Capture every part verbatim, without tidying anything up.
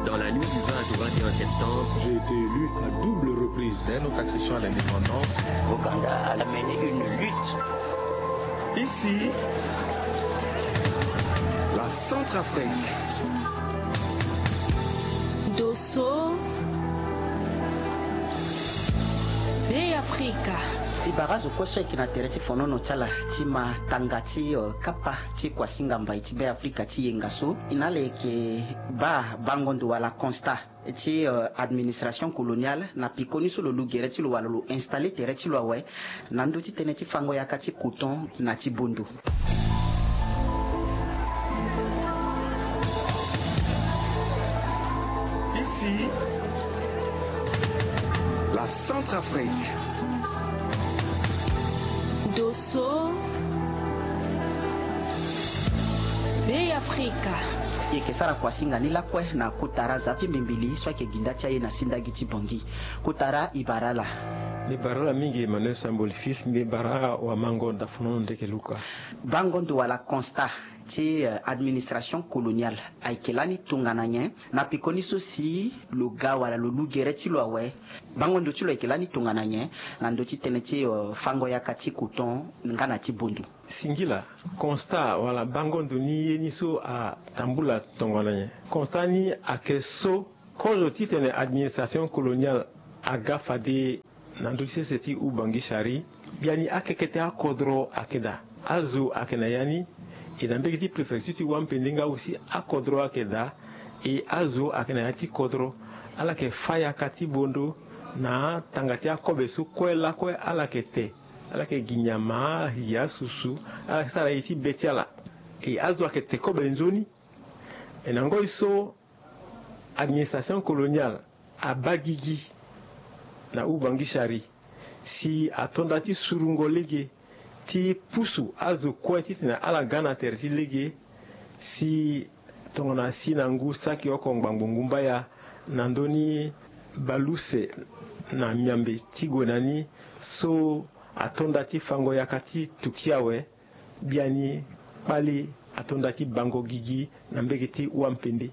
Dans la nuit du vingt au vingt et un septembre, j'ai été élu à double reprise. Dès notre accession à l'indépendance, Ouganda a mené une lutte. Ici, la Centrafrique. Dosso, Be Afrika. E bara azo kue so ayeke na tere ti fonono ti ala ti ma tanga ti, eh, kapa ti kuasinga mbai ti Be Afrika ti yenga so. E na ala yeke baa bango ndo wala constat ti, eh, administration coloniale na pekoni so lo lu gere ti lo wala lo installer tere ti lo awe na ndö ti tënë ti fango yaka ti coton na ti bondo. Ici, la Centrafrique. Dosso, Be Afrika. E yeke sara kuasinga ni lakue na kotara Zapi Mbimbili so ayeke ginda ti aye na sindagi ti Bongi. Kotara, e bara ala. Mbi bara ala mingi Emmanuel Samboli Fils, mbi bara wamango dafonono ndeke Luka. Bango ndo wala constat ti, eh, administration coloniale ayeke lani tongana nyen? Na pekoni so si lo ga wala lo lu gere ti lo awe, bango ndo ti lo ayeke lani tongana nyen na ndö ti tënë ti, eh, fango yaka ti coton nga na ti bondo? Singila, constat wala bango ndo ni ye ni so atambula tongana nyen? Constat ni ayeke so kozo titene administration coloniale aga fade na ndö ti sese ti Ubangishari, biani akekete akodro ayeke daa. Azo ayeke na ya ni, e na mbege ti préfecture ti Wampende nga aussi akodro ayeke daa, e azo ayeke na ya ti kodro. Ala yeke fâ yaka ti bondo na tanga ti akobe so kue lakue ala yeke te. Ala yeke gi nyama, ala yeke gi asusu, ala yeke sara ye ti be ti ala. E azo ayeke te kobe nzoni. E na ngoi so administration coloniale abaa gigi na Ubangishari si ato nda ti surungo lege ti pusu azo kue titene ala ga na tere ti lege, si tongana si na ngu saki oko ngbangbo ngu mbaya na ndö ni bale use na miambe ti gue na ni so ato nda ti fango yaka ti Turquie awe. Biani kpale ato nda ti bango gigi na mbege ti Wampende.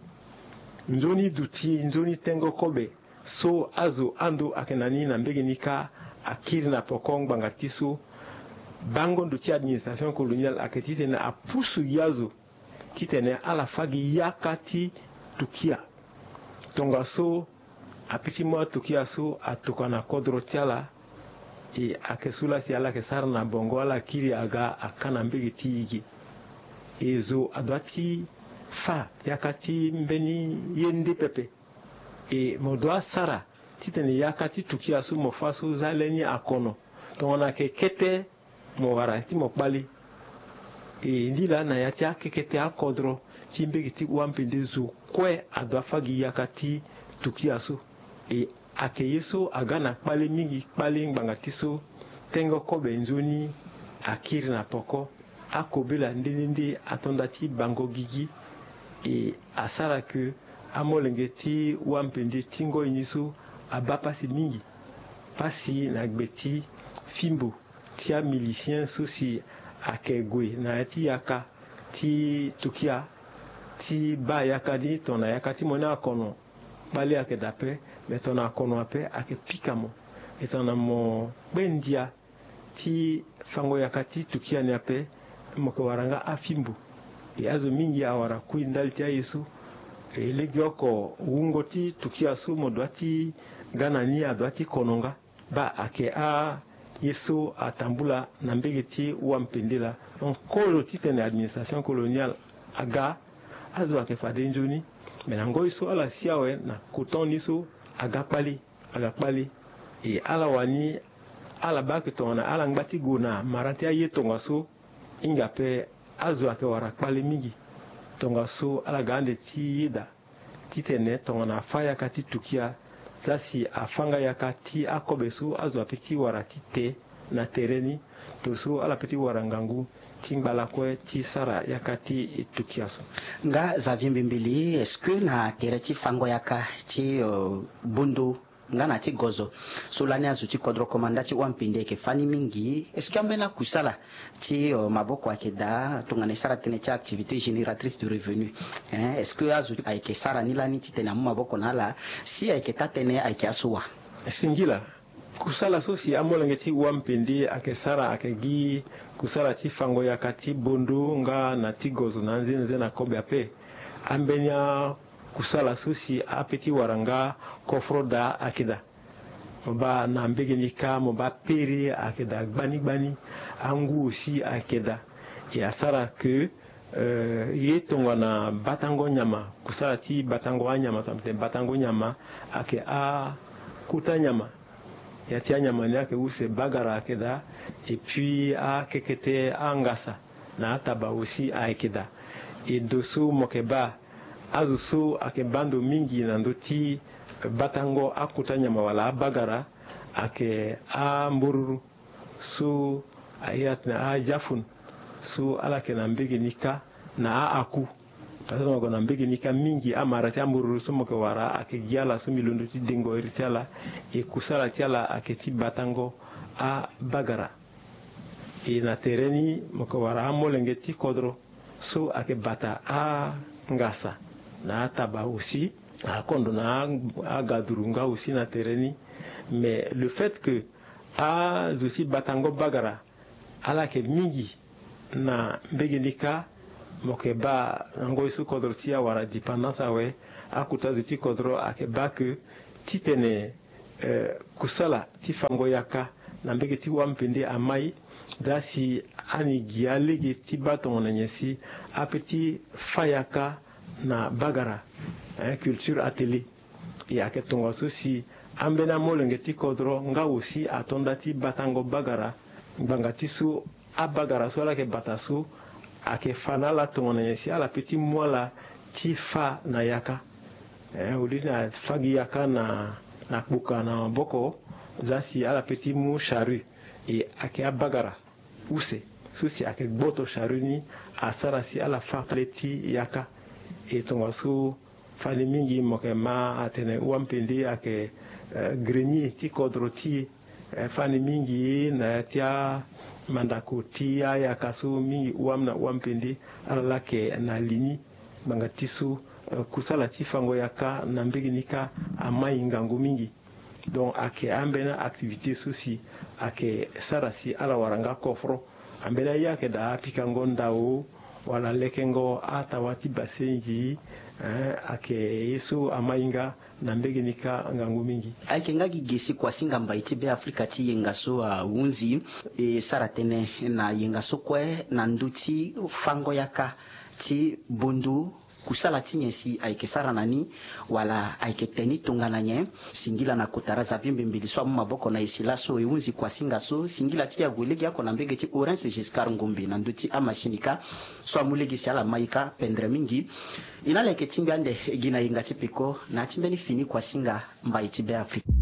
Nzoni duti, nzoni tengo kobe so azo ando ayeke na ni na mbege ni kâ akiri na poko ngbanga ti so. Bango ndo ti administration coloniale ayeke titene apusu gi azo titene ala fâ gi yaka ti Turquie. Tongaso ape ti mu atukia so atoka na kodro ti ala. E ayeke so laa si ala yeke sara na bongo, ala kiri aga aka na mbege ti e ge. E zo adoit ti fâ yaka ti mbeni ye nde pepe. E mo doit sara titene yaka ti Turquie so mo fâ so za lani akono. Tongana ayeke kete mo wara ti mo kpale. E ndi laa na ya ti akekete akodro ti mbege ti Wampende zo kue adoit fâ gi yaka ti Turquie so. E ayeke ye so aga na kpale mingi, kpale ngbanga ti so tengo kobe nzoni akiri na poko. Akobela nde nde nde ato nda ti bango gigi. E asara ke amolenge ti Wampende ti ngoi ni so abaa pasi mingi. Pasi na gbe ti fimbo ti amilicien so si ayeke gue na ya ti yaka ti Turquie ti baa yaka ni tongana yaka ti mo ni akono. Kpale ayeke daa ape, me tongana akono ape ayeke pika mo. E tongana mo kpe ndia ti fango yaka ti Turquie ni ape, mo yeke wara nga afimbo. E azo mingi awara kui ndali ti aye so. E legeoko wungo ti Turquie so mo doit ti ga na ni adoit ti kono nga. Baa ayeke aye so atambula na mbege ti Wampende laa. Donc kozo titene administration coloniale aga, azo ayeke fade nzoni. Me na ngoi so ala si awe na coton ni so aga kpale, aga kpale. E ala wani ala baa ayeke tongana ala ngba ti gue na mara ti aye tongaso. Hinga ape azo ayeke wara kpale mingi. Tongaso ala ga ande ti yeda titene tongana afâ yaka ti Turquie, za si afâ nga yaka ti akobe so azo ape ti wara ti te na tere ni, to so ala pe ti wara ngangu ti ngba lakue ti sara yaka ti Turquie so. Nga Xavier Mbimbili, est-ce que na tere ti fango yaka ti, euh, bondo nga na ti gozo. So lani azo ti kodro komanda ti wampende ayeke fani mingi. Est-ce que ambeni akusala ti maboko ayeke daa tongana e sara tënë ti activité génératrice de revenu? Est-ce que azo ayeke sara ni lani titene amu maboko na ala? Si ayeke taa-tënë ayeke aso wa? Singila. Kusala so si amolenge ti wampende ayeke sara ayeke gi kusala ti fango yaka ti bondo nga na ti gozo na anzenze na kobe ape. Ambeni akusala so si ape ti wara nga kofro daa ayeke daa. Mo baa na mbege ni kâ mo baa pere ayeke daa gbani gbani. Angu aussi ayeke daa. E asara ke ye tongana batango nyama, kusala ti batango anyama, tongana tene batango nyama ayeke akota nyama. Ya ti anyama ni ayeke use, bagara ayeke daa. Et puis akekete angasa na ataba aussi ayeke daa. E ndo so mo yeke baa azo so ayeke baa ndo mingi na ndö ti batango akota nyama wala abagara ayeke ambororo so a iri atene adiafun. So ala yeke na mbege ni kâ na aaku. Parce que mo yeke na mbege ni kâ mingi amara ti ambororo so mo yeke wara ayeke gi ala so mbi londo ti dengo iri ti ala. E kusala ti ala ayeke ti batango abagara. E na tere ni mo yeke wara amolenge ti kodro so ayeke bata angasa na ataba aussi, akondo na agaduru nga aussi na tere ni. Mais le fait que azo ti batango bagara ala yeke mingi na mbege ni kâ, mo yeke baa na ngoi so kodro ti awara dépendance awe, akota zo ti kodro ayeke baa ke titene kusala ti fango yaka na mbege ti wampende amai. Daa si ani gi alege ti baa tongana nyen si ape ti fa yaka na bagara, culture atelier. E ayeke tongaso si ambeni amolenge ti kodro nga aussi ato nda ti batango bagara. Ngbanga ti so abagara so ala yeke bata so ayeke fa na ala tongana nyen si ala pe ti mu ala ti fa na yaka. Au lieu na fa gi yaka na kpoka na maboko, za si ala pe ti mu charrue. E ayeke abagara use so si ayeke gboto charrue ni asara si ala fa le ti yaka. E tongaso fani mingi mo yeke ma atene wampende ayeke grenier ti kodro ti e. Fani mingi na ya ti amandako ti ayaka so mingi wam na wampende ala laa ayeke na li ni. Ngbanga ti so kusala ti fango yaka na mbege ni kâ amai ngangu mingi. Donc ayeke ambeni activité so si ayeke sara si ala wara nga kofro. Ambeni aye ayeke daa pikango ndao wala lekengo atawa ti basenzi. Ayeke ye so amai nga na mbege ni kâ ngangu mingi. Ayeke nga gi ge si kuasinga mbai ti Beafrika ti yenga so ahunzi e sara tënë na yenga so kue na ndö ti fango yaka ti bondo. Kusala ti nyen si ayeke sara na ni, wala ayeke te ni tongana nyen? Singila na kotara Xavier Mbembeli so amu maboko na e si laso e hunzi kuasinga so. Singila ti e ague legeoko na mbege ti Orense Giscard Ngombe na ndö ti amachine kâ so amu lege si ala mai kâ pendre mingi. E na ala yeke tingbi ande gi na yenga ti peko na ya ti mbeni fini kuasinga mbai ti Beafrika.